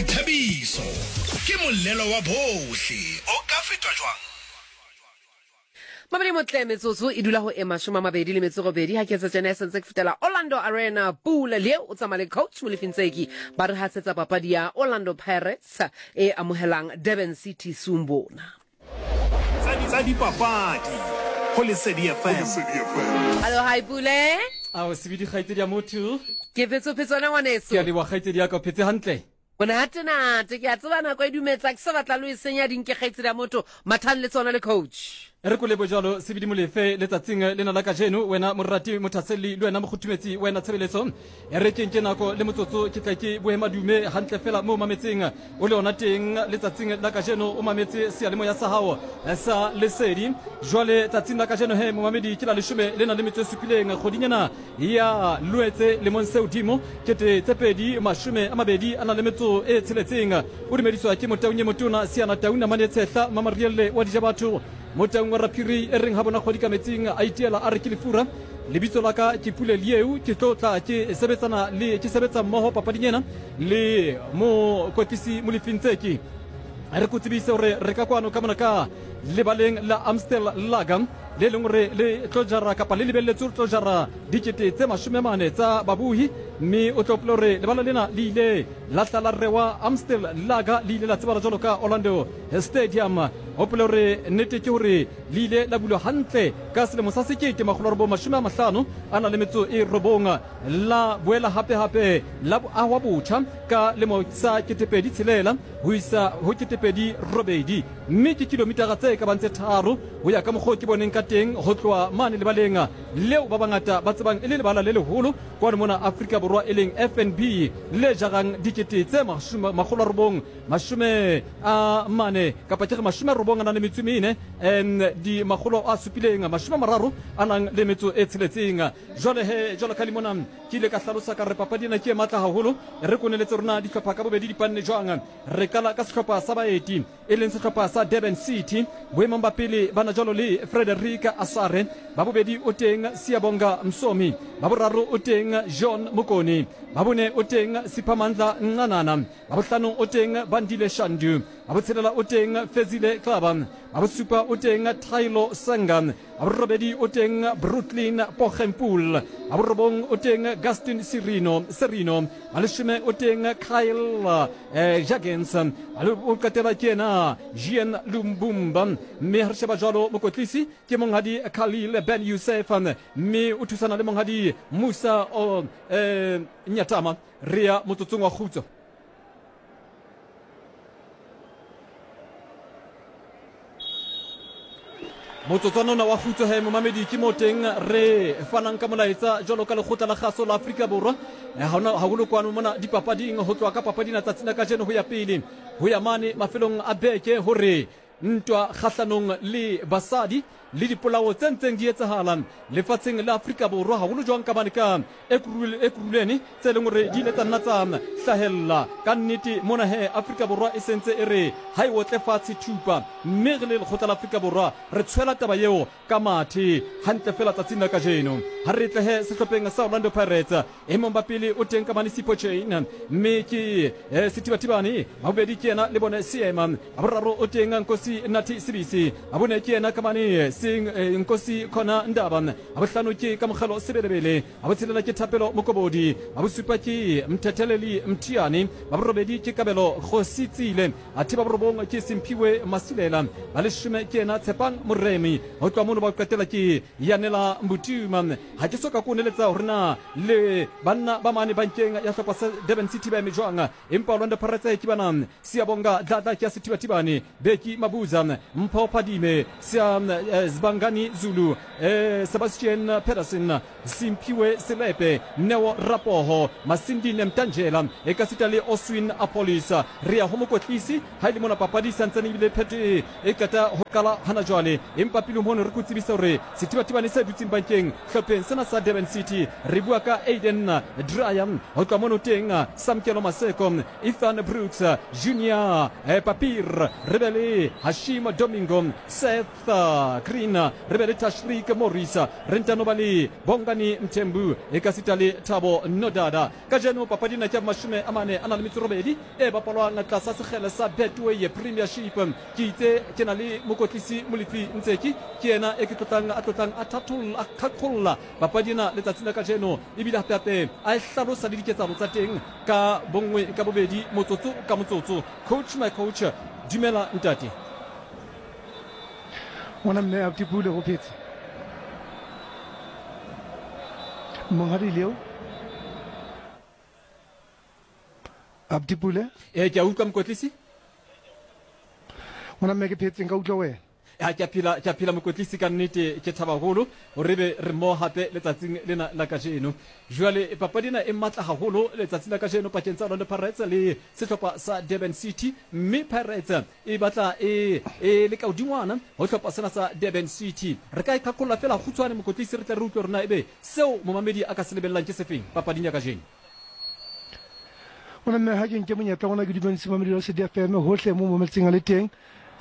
Boithabiso ke molelo wa bohle, o ka fetwa jwang? Mabedi motle metsotso e dula ho e 28 ha ke etsa tjena e sentse ke fetela Orlando Arena Pula le o tsamaya le coach Molefi Ntseki ba re hasetsa papadi ya Orlando Pirates e amohelang Durban City Sumbona. Tsa dipapadi go Lesedi FM. Hallo hi Pule. Ao sebidi kgaitsedi ya motho. Ke phetse phetswana ngwaneso. Ke a leboha kgaitsedi ya ka o phetse hantle. Monatenate, ke a tseba nako e dumetsa, ke sa batla lo e senya dinke kgaitsedi ya motho, mathang le tsona le coach. Re ko lebo jalo sebidi Molefe letsatsing lena la kajeno, wena morati mothaselli le wena mokgothumetsi wena tshebeletso. E re ke nke nako le motsotso ke tle ke bohe madume hantle fela mo mametseng o le ona teng letsatsing la kajeno o mametse seyalemoya sa hao sa Lesedi. Jwale tsatsing la kajeno he momamedi ke la leshome le nang le metso e supileng kgwedinyana ya Loetse lemong se hodimo 2026. O dumediswa ke Motaung e motona Siana Tau namane e tshehla Mamarielle wa Dijabatho Motaung wa Raphiri e reng ha bona kgwedi ka metsing a itiela a re ke lefura. Lebitso la ka ke Pule Lieu ke tlo tla ke sebetsana le ke sebetsa mmoho papading ena le mokwetlisi Molefi Ntseki. Re ko tsebise hore re ka kwano ka mona ka lebaleng la Amstel Lager le leng gore le tlo jara kapa le lebeletswe go tlo jara 400,000 tsa babohi, mme o tlo gopola gore lebala lena le ile la tla la rewa Amstel Lager, le ile la tsebala jalo ka Orlando Stadium. Gopola gore nnete ke gore le ile la bulwa hantle ka selemo sa 1959, la boela gape-gape la agwa botjha ka lemo sa 2006 go isa go 2008. Mme ke kilomitara tse ka bang tse tharo go ya ka mokgwa o ke boneng ka teng go tloha mane lebaleng leo ba bangata ba tsebang e le lebala le leholo kwano mona Afrika Borwa e leng FNB le jarang dikete tse 940 kapa ke re 94 di 736. Jwale he jwalo ka le mona ke ile ka hlalosa ka re papadi ena ke e matla haholo. Re koneletse rona dihlopha ka bobedi di panne jwang. Re qala ka sehlopha sa baeti e leng sehlopha sa Durban City. Boemong ba pele ba na jwalo le Frederick Asare, ba bobedi o teng Siyabonga Msomi, ba boraro o teng John Mokone, ba bone o teng Siphamandla Ncanana, ba bohlano o teng Bandile Shandu, ba botshelela o teng Fezile Xaba, ba bosupa o teng Thailo Senga, ba borobedi o teng Brooklyn Poggenpoel, ba borobong o teng Gaston Sirino, Serino, ba leshome o teng Kyle eh, Jurgens, o qetela ke yena Jean Lumbumba. Mme ha re sheba jwalo mokotlisi ke monghadi Khalil Ben Youssef, mme o thusana le monghadi Musa o, eh, Nyatama. Re ya motsotsong wa kgutso. Motsotswana ona wa kgutso he momamedi ke mo teng re fanang ka molaetsa jwalo ka lekgotla la kgaso la Afrika Borwa eh, haholo kwano mona dipapading ho tloha ka papading ya tsatsing la kajeno ho ya pele ho ya mane mafelong a beke hore ntwa kgahlanong le basadi le dipolao tse ntseng di etsahala lefatsheng la Afrika Borwa haholo jwang ka mane ka Ekurhuleni tse leng hore di ile tsa nna tsa hlahella. Ka nnete mona he Afrika Borwa e sentse e re ha e otle fatshe thupa, mme re le lekgotla la Afrika Borwa re tshwela taba eo ka mathe hantle fela tsatsing la kajeno. Ha re tle he sehlopheng sa Orlando Pirates, e mong ba pele o teng ka mane Sipho Chaine, mme ke Sethibathibane, ba bobedi ke yena le bone Seema, ba boraro o teng Nkosi Nathi Sibisi, ba bone ke yena ka mane Nkosi Khona Ndaba, ba bohlano ke Kamogelo Sebelebele, ba botshelela ke Thapelo Mokobodi, ba bosupa ke Mthetheleli Mthiane, ba borobedi ke Kabelo Kgositsile, athe ba borobong ke Simphiwe Masilela, ba leshome ke yena Tshepang Moremi, ho tloha mono ba ho qetela ke Yanela Mbutuma. Ha ke so ka ko neletsa hore na le banna ba mane bankeng ya hlopha sa Durban City ba eme jwang, empa Orlando Pirates ke bana Siyabonga Dladla ke ya Sethibathibane, Beki Mabuza, Mpho Phadime, Sia Zibangani Zulu, Sebastian Pedersen, Simphiwe Selepe, Neo Rapoho, Masindine Mtanjela, ekasita le Oswin Appollis. Re ya ho mokwetlisi ha e le mona papadi e santsane ebile phetho e e qeta ho qala hana jwale, empa pele mono re ko tsebise hore sethibathibane se dutseng bankeng hlopheng sena sa Durban City, re bua ka Aiden Dreyer, ho tloha mono teng Samkelo Maseko, Ethan Brooks, Junior Papir, re be le Hashim Domingo, Seth Green. Green, re be le Tashreeq Morris, re ntano ba le Bongani Mthembu ekasita le Thabo Nodada. Kajeno papadi ena ke ya bomashome a mane a na le metso robedi e bapalwang tlasa sekgele sa Betway Premiership. Ke itse ke na le mokotlisi Molefi Ntseki, ke yena e ke tlotlang a tlotlang a thatholla a qhaqholla papadi ena letsatsing la kajeno ebile hape-hape a e hlalosa le diketsahalo tsa teng ka bonngwe ka bobedi motsotso ka motsotso. Coach my coach, dumela ntate. Ngwana mme Abuti Pule go phetse. Monghadi Leo. Abuti Pule. Ee, ke a utlwa mokwetlisi. Ngwana mme ke phetse nka utlwa wena. Ya, ke a phela, ke a phela mokwetlisi ka nnete, ke thaba haholo hore ebe re mmoho hape letsatsing lena la kajeno. Jwale papadi ena e matla haholo letsatsing la kajeno pakeng tsa Orlando Pirates le sehlopha sa Durban City, mme Pirates e batla e, e le ka hodingwana ho hlopha sena sa Durban City. Re ka e qhaqholla feela kgutshwane mokwetlisi, re tle re utlwe hore na ebe seo momamedi a ka se lebellang ke sefeng papading ya kajeno. Ona mme ha ke nke monyetla ona ke dumedise mamedi wa Lesedi FM hohle mo mametseng a le teng.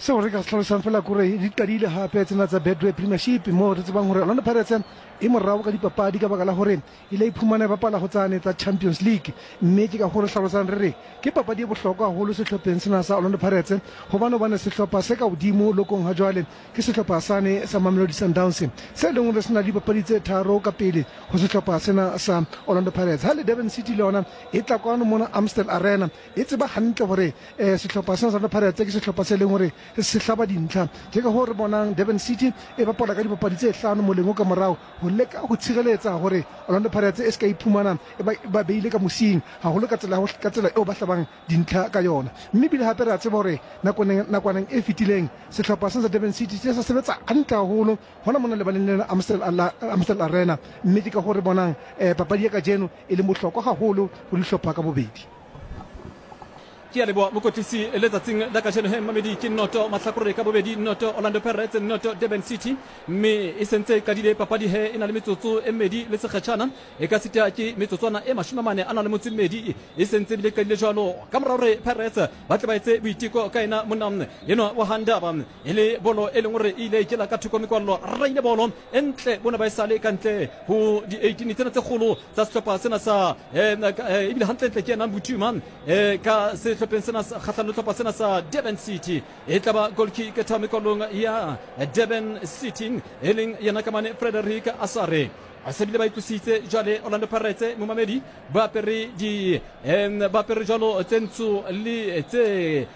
Seo re ka se hlalosang fela kore di qadile hape tsena tsa Betway Premiership mo re tsebang hore Orlando Pirates e morao ka dipapadi ka baka la hore ile iphumana e bapala ho tsane tsa Champions League, mme ke ka hoo re hlalosang re re ke papadi e bohlokwa haholo sehlopheng sena sa Orlando Pirates hobane hobane sehlopha se ka hodimo lokong ha jwale ke sehlopha sane sa Mamelodi Sundowns se leng hore se na le dipapadi tse tharo ka pele ho sehlopha sena sa Orlando Pirates. Ha le Durban City le yona e tla kwano mona Amstel Arena e tseba hantle hore eh, sehlopha sena sa Orlando Pirates ke sehlopha se leng hore se hlaba dintlha. Ke ka hoo re bonang Durban City e bapala ka dipapadi tse hlano moleng o ka morao ho leka ho tshireletsa hore Orlando Pirates e se ka iphumana e ba, ba beile ka mosing haholo ka tsela ka tsela eo ba hlabang dintlha ka yona. Mme ebile hape re a tseba hore nakwaneng, nakwaneng e fetileng sehlopha sena sa Durban City se sa sebetsa hantle haholo hona mona lebaleng lena Amstel, la Amstel Arena, mme ke ka hoo re bonang eh, papadi ya kajeno e leng bohlokwa haholo ho dihlopha ka bobedi. Ke a leboha mokwetlisi letsatsing la kajeno he mmamedi ke noto mahlakore ka bobedi noto Orlando Pirates noto Durban City mme e sentse e qadile papadi he e na le metsotso e mmedi le sekgetjhana e ka sita ke metsotswana e 40 a na le motso e mmedi e sentse ebile qadile jwalo ka mora hore Pirates ba tle ba etse boiteko ka ena monna enwa wa Handaba e le bolo e leng hore e ile e kela ka thoko mekwallo raile bolo e ntle bona ba e sale ka ntle ho di-18 tsena tse kgolo tsa sehlopha sena sa ebile hantlentle ke ena Mbuthuma ka sehlopheng sena kgahlano le hlopha sena sa Durban City e tla ba goal kick tshamekolong ya Durban City e leng yena ka mane Frederick Asare a se bile ba itlositse jwale Orlando Pirates momamedi ba apere di ba apere jwalo tse ntsho le tse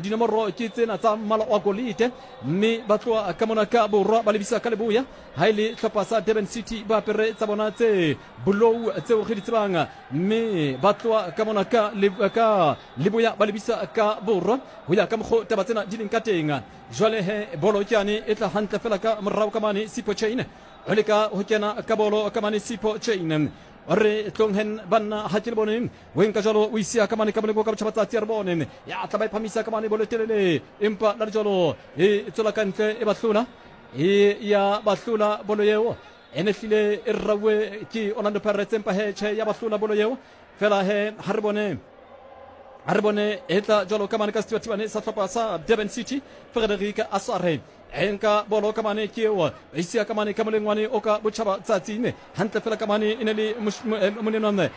dinomoro ke tsena tsa mmala wa golite mme ba tloha ka mona ka borwa ba lebisa ka leboya Ha e le hlopha sa Durban City ba apere tsa bona tse bolou tseo re di tsebang mme ba tloha ka mona ka, ka leboya ba lebisa ka borwa ho ya ka mokgo taba tsena di leng ka teng. Jwale he bolo ke yane e tla hantle fela ka morao ka mane Sipho Chain o leka ho kena ka bolo ka mane Sipho Chain o re tlong hen banna ha ke le bone o enka jwalo o isia ka mane ka moleko ka botjhabatsatsi a re bone ya tla ba e phamisa ka mane bolo e telele empa la le jwalo e tswela ka ntle e ba hlola E ya ba hlola bolo yeo e ne hlile e rauwe ke Orlando Pirates empa he tjhe ya ba hlola bolo yeo fela he ha re bone ha re bone e tla jwalo ka mane ka sethibathibane sa hlopha sa Durban City Frederick Asare e nka bolo ka mane ke eo e sia ka mane ka molengwane o ka botjhaba tsatsi ne hantle fela ka mane e ne le monenwa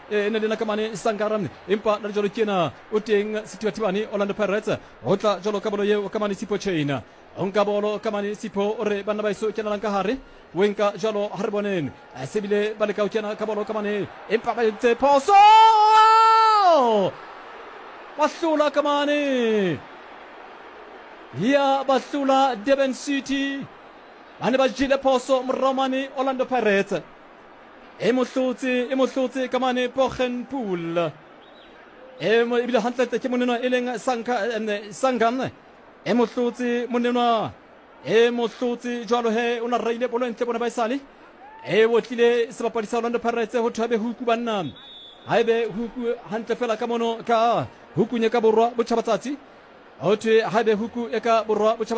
e ne le na ka mane Sankara empa la jwalo ke ena o teng sethibathibane Orlando Pirates ho tla jwalo ka bolo yeo ka mane Sipho Chain O nka bolo ka mane Sipho o re banna ba eso kenelang ka hare o e nka jwalo ha re boneng se bile ba leka ho kena ka bolo ka mane empa ba entse phoso ba hlola ka mane ya ba hlola Durban City ba ne ba jele phoso morao mane Orlando Pirates e mo hlotse e mo hlotse ka mane Poggenpoel e ebile hantlentle ke monenwa e leng Sanka Sangam E mo hlotse monenwa, e mo hlotse jwalo he o na raile bolo e ntle bona ba esale. E otlile sebapadi sa Orlando Pirates ho thwe huku banna. Ha ebe huku hantle fela ka mono ka hukunye ka borwa botjhabatsatsi. Ho thwe ha ebe huku e ka borwa botjhabatsatsi.